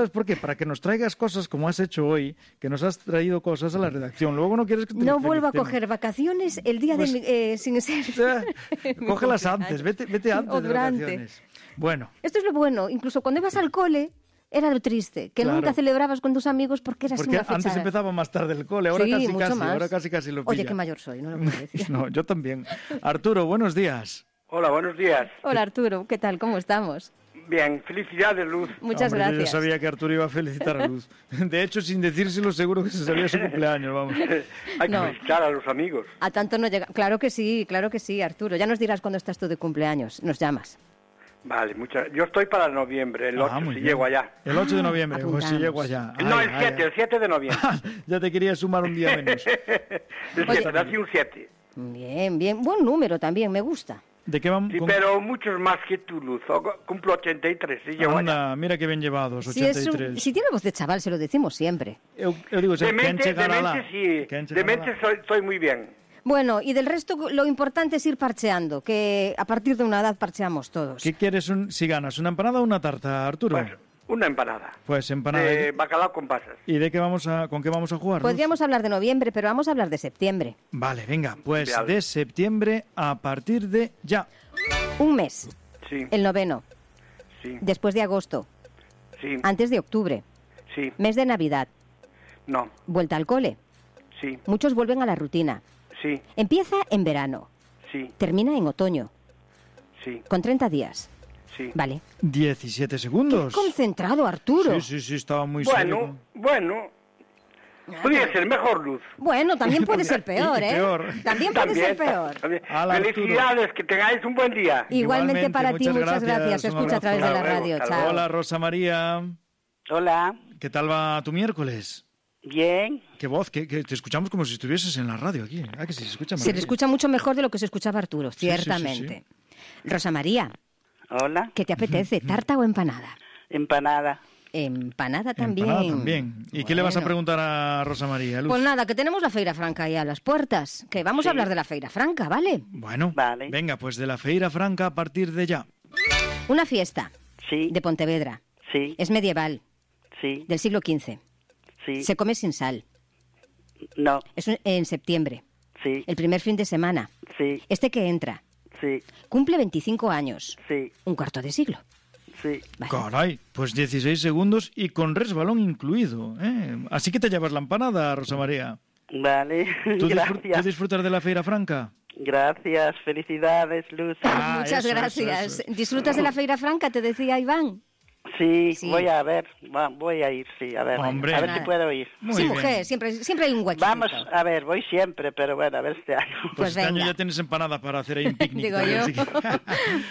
¿Sabes por qué? Para que nos traigas cosas como has hecho hoy, que nos has traído cosas a la redacción. Luego no quieres que te No vuelvo a coger vacaciones el día pues, sin ser... Cógelas antes, vete antes o de durante. vacaciones. Bueno. Esto es lo bueno. Incluso cuando ibas al cole, era lo triste, que nunca celebrabas con tus amigos porque eras una fecha... Antes empezaba más tarde el cole, ahora sí, casi lo pilla. Oye, qué mayor soy, no lo puedo decir. No, yo también. Arturo, buenos días. Hola, buenos días. Hola, Arturo, ¿qué tal? ¿Cómo estamos? Bien, felicidades, Luz. Muchas gracias. Yo sabía que Arturo iba a felicitar a Luz. De hecho, sin decírselo, seguro que se sabía su cumpleaños, vamos. Hay que felicitar a los amigos. A tanto no llega. Claro que sí, Arturo. Ya nos dirás cuando estás tú de cumpleaños. Nos llamas. Vale, yo estoy para noviembre, el 8, si llego allá. El 8 de noviembre, pues si llego allá. No, el 7 de noviembre. Ya te quería sumar un día menos. El 7, nací un 7. Bien. Buen número también, me gusta. ¿De qué vamos? Sí, pero muchos más que tú, Luz. Cumplo 83, si llego allá. Mira qué bien llevados, 83. Si tiene voz de chaval, se lo decimos siempre. Yo digo, de mente sí. De mente soy muy bien. Bueno, y del resto lo importante es ir parcheando, que a partir de una edad parcheamos todos. ¿Qué quieres si ganas? ¿Una empanada o una tarta, Arturo? Pues una empanada. Pues empanada. De bacalao con pasas. ¿Y de qué con qué vamos a jugar? Podríamos hablar de noviembre, pero vamos a hablar de septiembre. Vale, venga, pues de septiembre a partir de ya. Un mes. Sí. El 9. Sí. Después de agosto. Sí. Antes de octubre. Sí. Mes de Navidad. No. Vuelta al cole. Sí. Muchos vuelven a la rutina. Sí. Empieza en verano. Sí. Termina en otoño. Sí. Con 30 días. Sí. Vale. 17 segundos. Qué concentrado, Arturo. Sí, estaba muy serio. Bueno. Podría ser mejor, Luz. Bueno, también puede ser peor, ¿eh? También puede ser peor. Felicidades, que tengáis un buen día. Igualmente para ti, muchas gracias. Escucha a través de la radio. Chao. Hola, Rosa María. Hola. ¿Qué tal va tu miércoles? Bien. Qué voz, que te escuchamos como si estuvieses en la radio aquí. Que sí, se escucha Se le escucha mucho mejor de lo que se escuchaba Arturo, ciertamente. Sí. Rosa María. Hola. ¿Qué te apetece, tarta o empanada? Empanada. Empanada también. ¿Y qué le vas a preguntar a Rosa María, Luz? Pues nada, que tenemos la Feira Franca ahí a las puertas. Que vamos a hablar de la Feira Franca, ¿vale? Bueno, venga, pues de la Feira Franca a partir de ya. Una fiesta. Sí. De Pontevedra. Sí. Es medieval. Sí. Del siglo XV. Sí. Se come sin sal. No. Es en septiembre. Sí. El primer fin de semana. Sí. Este que entra. Sí. Cumple 25 años. Sí. Un cuarto de siglo. Sí. Vale. Caray, pues 16 segundos y con resbalón incluido, ¿eh? Así que te llevas la empanada, Rosa María. Vale, gracias. ¿Tú disfrutas de la Feira Franca? Gracias, felicidades, Luz. Muchas gracias. Eso. ¿Disfrutas de la Feira Franca? Te decía Iván. Sí, voy a ir, sí, a ver, Hombre. a ver si puedo ir. Sí, mujer, siempre hay un huequito. Vamos, a ver, voy siempre, pero bueno, a ver este año. Pues este año ya tienes empanada para hacer ahí un picnic. Digo yo.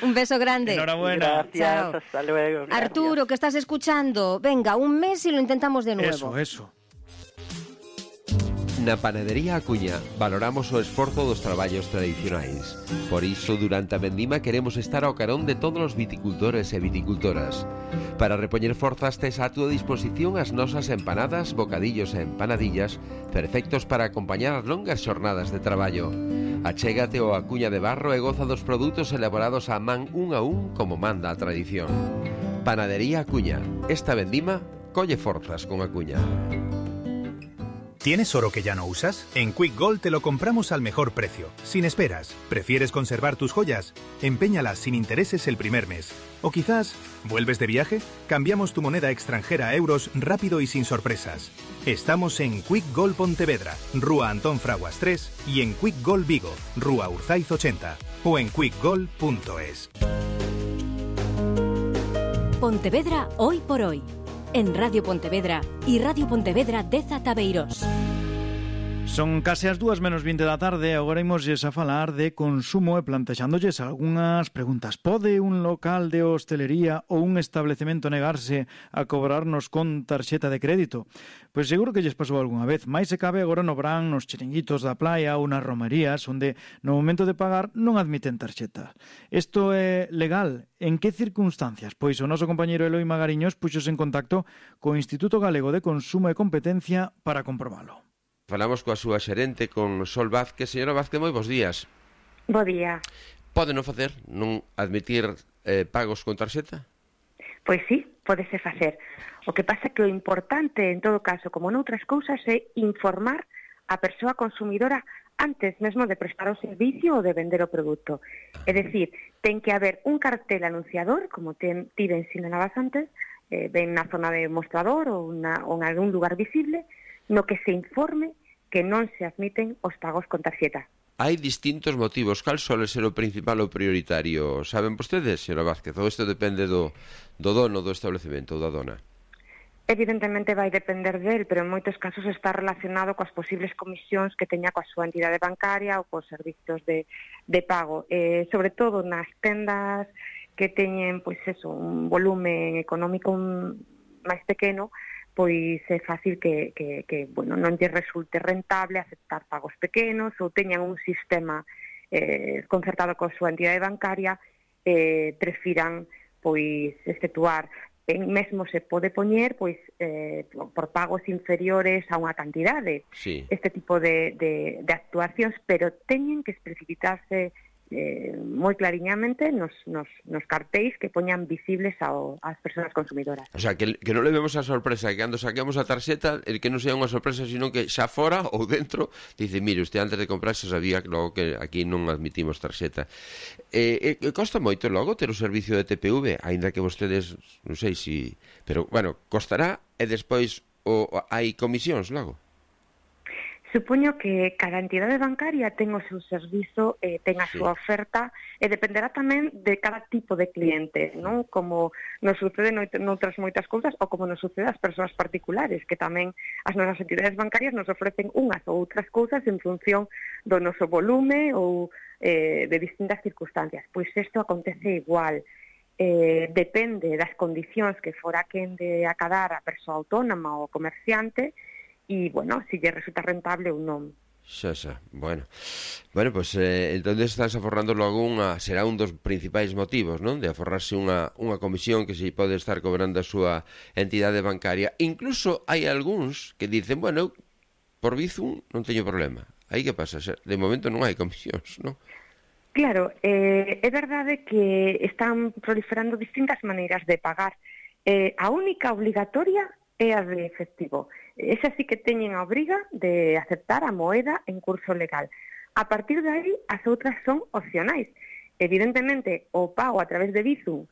Un beso grande. Enhorabuena. Gracias, Chao. hasta luego. Gracias. Arturo, que estás escuchando, venga, un mes y lo intentamos de nuevo. Eso. Na Panadería Acuña valoramos o esforzo dos traballos tradicionais. Por iso, durante a vendima queremos estar ao carón de todos os viticultores e viticultoras. Para repoñer forzas tes a túa disposición as nosas empanadas, bocadillos e empanadillas, perfectos para acompañar as longas xornadas de traballo. Achégate ao Acuña de Barro e goza dos produtos elaborados a man un a un como manda a tradición. Panadería Acuña. Esta vendima colle forzas con Acuña. ¿Tienes oro que ya no usas? En Quick Gold te lo compramos al mejor precio, sin esperas. ¿Prefieres conservar tus joyas? Empeñalas sin intereses el primer mes. O quizás, ¿vuelves de viaje? Cambiamos tu moneda extranjera a euros rápido y sin sorpresas. Estamos en Quick Gold Pontevedra, Rúa Antón Fraguas 3 y en Quick Gold Vigo, Rúa Urzaiz 80 o en quickgold.es. Pontevedra hoy por hoy. En Radio Pontevedra y Radio Pontevedra Deza Tabeiros. Son case as 2:20 da tarde, agora imosles a falar de consumo e plantexándolles algunhas preguntas. Pode un local de hostelería ou un establecemento negarse a cobrarnos con tarxeta de crédito? Pois seguro que lles pasou algunha vez, máis se cabe agora no verán, nos chiringuitos da playa ou nas romerías, onde no momento de pagar non admiten tarxeta. Isto é legal? En que circunstancias? Pois o noso compañeiro Eloi Magariños puxos en contacto co Instituto Galego de Consumo e Competencia para comprobalo. Falamos coa súa xerente, con Sol Vázquez. Señora Vázquez, moi bons días. Bo día. Pode non facer, non admitir pagos con tarxeta? Pois sí, pódese facer. O que pasa que o importante, en todo caso, como noutras cousas, é informar a persoa consumidora antes mesmo de prestar o servicio ou de vender o produto. É dicir, ten que haber un cartel anunciador, como ti ben sinalabas antes, ben na zona de mostrador ou en algún lugar visible, no que se informe que non se admiten os pagos con tarxeta. Hai distintos motivos. Cal suele ser o principal ou prioritario? Saben vostedes, señora Vázquez? Ou isto depende do dono do establecemento ou da dona? Evidentemente vai depender del, pero en moitos casos está relacionado coas posibles comisións que teña coa súa entidade bancaria ou cos servicios de pago. Sobre todo nas tendas que teñen un volumen económico máis pequeno, pois é fácil que non lle resulte rentable aceptar pagos pequenos ou teñan un sistema concertado coa súa entidade bancaria, prefiran efectuar. Mesmo se pode poñer por pagos inferiores a unha cantidade, sí, este tipo de actuacións, pero teñen que especificarse moi clariñamente nos cartéis que poñan visibles ás persoas consumidoras. O sea, que non levemos a sorpresa, que cando saquemos a tarxeta, que non sea unha sorpresa, sino que xa fora ou dentro, dice, mire, usted antes de comprar xa sabía logo que aquí non admitimos tarxeta. Costa moito logo ter o servicio de TPV, aínda que vostedes, non sei si... Pero, bueno, costará e despois hai comisións logo? Supoño que cada entidade bancaria ten o seu servizo, ten a súa oferta, e dependerá tamén de cada tipo de cliente, non? Como nos sucede noutras moitas cousas, ou como nos sucede ás persoas particulares, que tamén as nosas entidades bancarias nos ofrecen unhas ou outras cousas en función do noso volume ou de distintas circunstancias. Pois isto acontece igual. Depende das condicións que fora quen de acadar a persoa autónoma ou comerciante, e, bueno, si lle resulta rentable ou non. Xa. Bueno, pues entonces estás aforrando logo será un dos principais motivos, non? De aforrarse unha comisión que se pode estar cobrando a súa entidade bancaria. Incluso hai algúns que dicen, bueno, por Bizum non teño problema. Aí que pasa? De momento non hai comisións, non? Claro, é verdade que están proliferando distintas maneiras de pagar. A única obligatoria é a de efectivo. Esa sí que teñen a obriga de aceptar a moeda en curso legal. A partir de aí, as outras son opcionais. Evidentemente, o pago a través de Bizum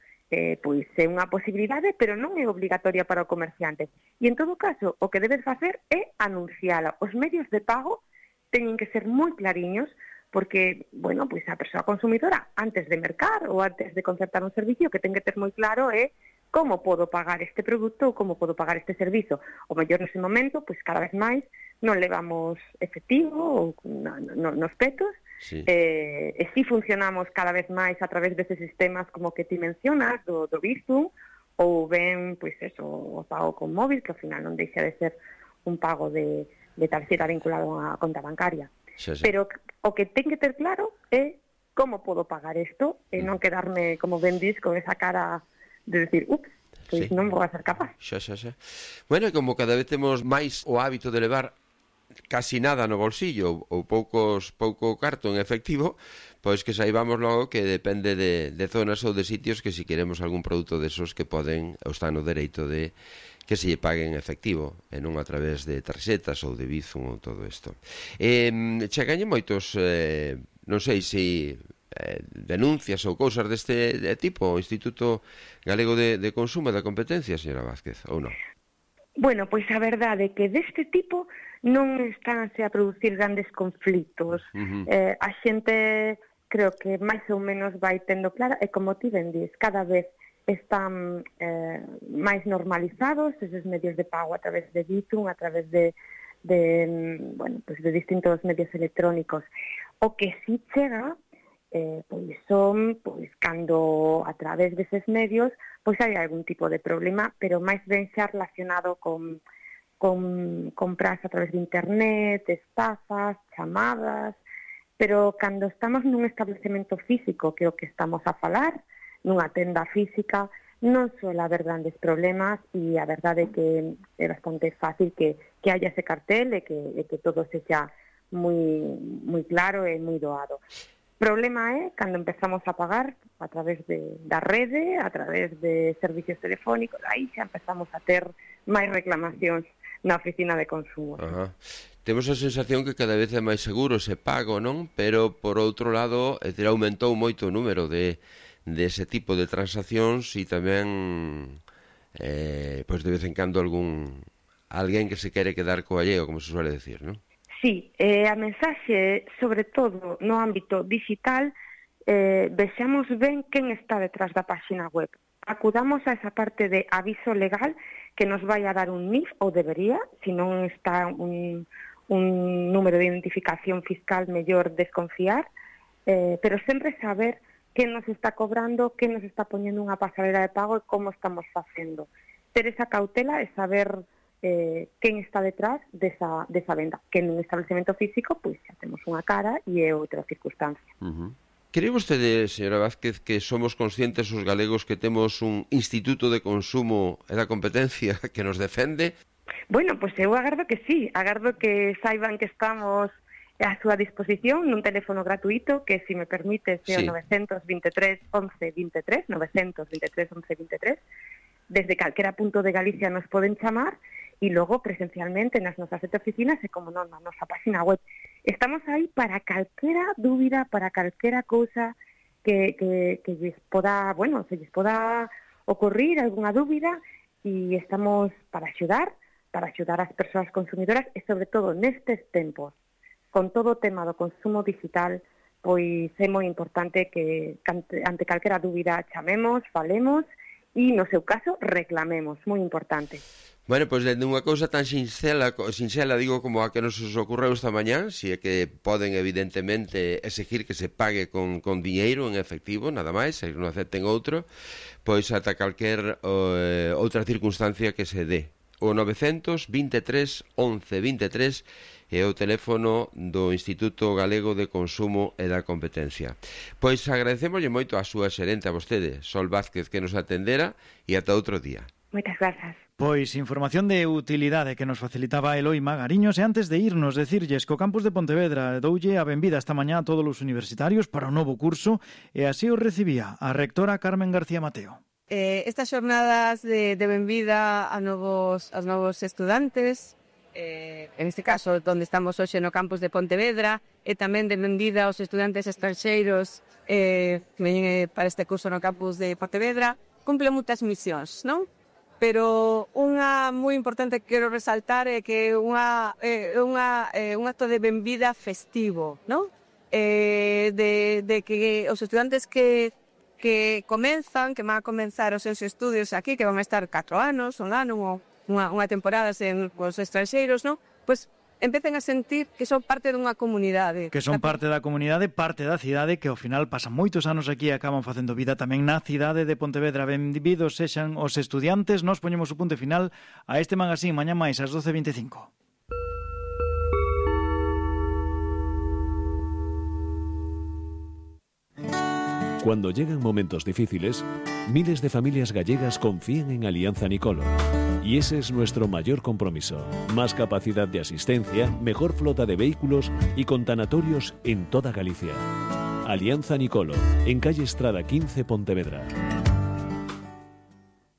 pois é unha posibilidade, pero non é obligatoria para o comerciante. E en todo caso, o que debes facer é anunciala. Os medios de pago teñen que ser moi clariños, porque, bueno, pois a persoa consumidora, antes de mercar ou antes de concertar un servicio, que ten que ter moi claro é como podo pagar este produto ou como podo pagar este servizo. O mellor nese momento, pois cada vez máis, non levamos efectivo ou nos petos, sí. E si funcionamos cada vez máis a través deses sistemas como que ti mencionas, do Bizum, ou ben, pois eso, o pago con móvil, que ao final non deixa de ser un pago de tarxeta vinculado a conta bancaria. Sí. Pero o que ten que ter claro é como podo pagar isto e non quedarme, como ben dis, con esa cara de decir, pois non vou a ser capaz. Xa. Bueno, como cada vez temos máis o hábito de levar casi nada no bolsillo ou pouco carto en efectivo, pois que saibamos logo que depende de zonas ou de sitios que si queremos algún produto desos que poden ou están no dereito de que se lle paguen en efectivo e non a través de tarxetas ou de Bizum ou todo isto. Chegañen moitos, non sei se denuncias ou cousas deste tipo o Instituto Galego de Consumo e da Competencia, señora Vázquez, ou non? Bueno, pois a verdade é que deste tipo non estánse a producir grandes conflitos. A xente creo que máis ou menos vai tendo clara, e como ti ben dis, cada vez están máis normalizados eses medios de pago a través de Bizum, a través de distintos medios electrónicos. O que si chega son cando a través deses medios pois hai algún tipo de problema, pero máis ben xa relacionado con compras a través de internet, estafas, chamadas, pero cando estamos nun establecemento físico, que é o que estamos a falar, nunha tenda física, non suele haber grandes problemas, e a verdade é que é bastante fácil que haya ese cartel e que todo sexa moi claro e moi doado. Problema é cando empezamos a pagar a través da rede, a través de servicios telefónicos, aí xa empezamos a ter máis reclamacións na oficina de consumo. Ajá. Temos a sensación que cada vez é máis seguro ese pago, non? Pero, por outro lado, aumentou moito o número dese tipo de transaccións e tamén, pois de vez en cando alguén que se quere quedar co alleo, como se suele decir, non? Sí, a mensaxe, sobre todo no ámbito digital, vexamos ben quen está detrás da páxina web. Acudamos a esa parte de aviso legal que nos vai a dar un NIF, ou debería, se non está un número de identificación fiscal, mellor desconfiar, pero sempre saber quen nos está cobrando, quen nos está poñendo unha pasarela de pago e como estamos facendo. Ter esa cautela e saber quen está detrás desa venda, que nun establecemento físico pois xa temos unha cara e é outra circunstancia. Cree vostede, señora Vázquez, que somos conscientes os galegos que temos un Instituto de Consumo e da Competencia que nos defende? Bueno, pois eu agardo que sí, agardo que saiban que estamos a súa disposición nun teléfono gratuito que, se me permite, é o 923 11 23, 923 11 23. Desde calquera punto de Galicia nos poden chamar e logo presencialmente nas nosas 7 oficinas e, como non, na nosa página web. Estamos aí para calquera dúbida, para calquera cousa que lles poda, se lles poda ocurrir algunha dúbida, e estamos para axudar as persoas consumidoras e, sobre todo, nestes tempos, con todo o tema do consumo digital, pois é moi importante que ante calquera dúbida chamemos, falemos e, no seu caso, reclamemos, moi importante. Bueno, pois dende unha cousa tan sinxela, digo, como a que nos ocorreu esta mañá, si é que poden evidentemente exigir que se pague con diñeiro en efectivo, nada máis, se non acepten outro, pois ata calquer outra circunstancia que se dé. O 923 11 23 é o teléfono do Instituto Galego de Consumo e da Competencia. Pois agradecémoslle moito a súa xerente, a vostede, Sol Vázquez, que nos atendera, e ata outro día. Moitas grazas. Pois información de utilidade que nos facilitaba Eloi Magariños, e antes de irnos decirlles que o campus de Pontevedra doulle a benvida esta mañá a todos os universitarios para o novo curso, e así o recibía a rectora Carmen García Mateo. Estas xornadas de benvida a novos estudantes, en este caso onde estamos hoxe no campus de Pontevedra, e tamén de benvida aos estudantes estranxeiros que veñen para este curso no campus de Pontevedra, cumple moitas misións, non? Pero unha moi importante que quero resaltar é que un acto de benvida festivo, non? De que os estudantes que comenzan, que van a comenzar os seus estudios aquí, que van a estar 4 anos, un ano, unha temporada sen os estranxeiros, non? Pois empecen a sentir que son parte dunha comunidade. Que son parte da comunidade, parte da cidade, que ao final pasan moitos anos aquí e acaban facendo vida tamén na cidade de Pontevedra. Benvidos sexan os estudiantes. Nos poñemos o punto final a este magazín mañá máis ás 12:25. Cuando llegan momentos difíciles, miles de familias gallegas confían en Alianza Nicolo. Y ese es nuestro mayor compromiso. Más capacidad de asistencia, mejor flota de vehículos y con tanatorios en toda Galicia. Alianza Nicolo, en calle Estrada 15, Pontevedra.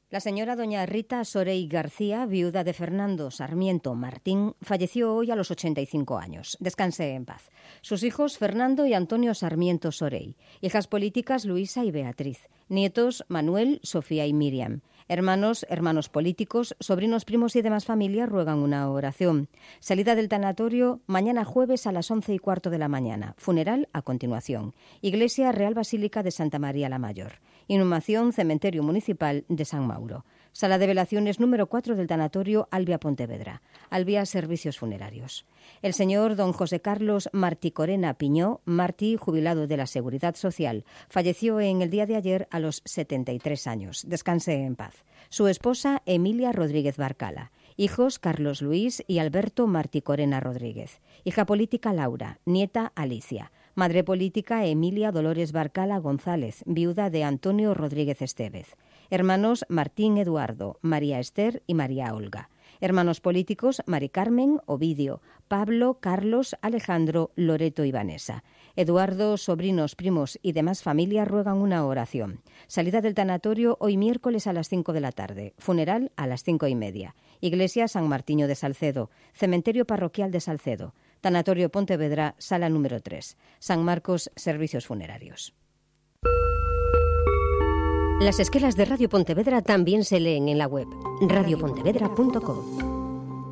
La señora doña Rita Sorey García, viuda de Fernando Sarmiento Martín, falleció hoy a los 85 años. Descanse en paz. Sus hijos Fernando y Antonio Sarmiento Sorey. Hijas políticas Luisa y Beatriz. Nietos Manuel, Sofía y Miriam. Hermanos políticos, sobrinos, primos y demás familia ruegan una oración. Salida del tanatorio mañana jueves a las 11:15 de la mañana. Funeral a continuación. Iglesia Real Basílica de Santa María la Mayor. Inhumación Cementerio Municipal de San Mauro. Sala de velaciones número 4 del tanatorio Albia Pontevedra. Albia Servicios Funerarios. El señor don José Carlos Martí Corena Piñó, Martí, jubilado de la Seguridad Social, falleció en el día de ayer a los 73 años. Descanse en paz. Su esposa Emilia Rodríguez Barcala. Hijos Carlos Luis y Alberto Martí Corena Rodríguez. Hija política Laura. Nieta Alicia. Madre política Emilia Dolores Barcala González, viuda de Antonio Rodríguez Estévez. Hermanos Martín Eduardo, María Esther y María Olga. Hermanos políticos: Mari Carmen, Ovidio, Pablo, Carlos, Alejandro, Loreto y Vanessa. Eduardo, sobrinos, primos y demás familia ruegan una oración. Salida del tanatorio hoy miércoles a las 5 de la tarde. Funeral a las 5:30. Iglesia San Martiño de Salcedo. Cementerio parroquial de Salcedo. Tanatorio Pontevedra, sala número 3. San Marcos, servicios funerarios. Las esquelas de Radio Pontevedra también se leen en la web radiopontevedra.com.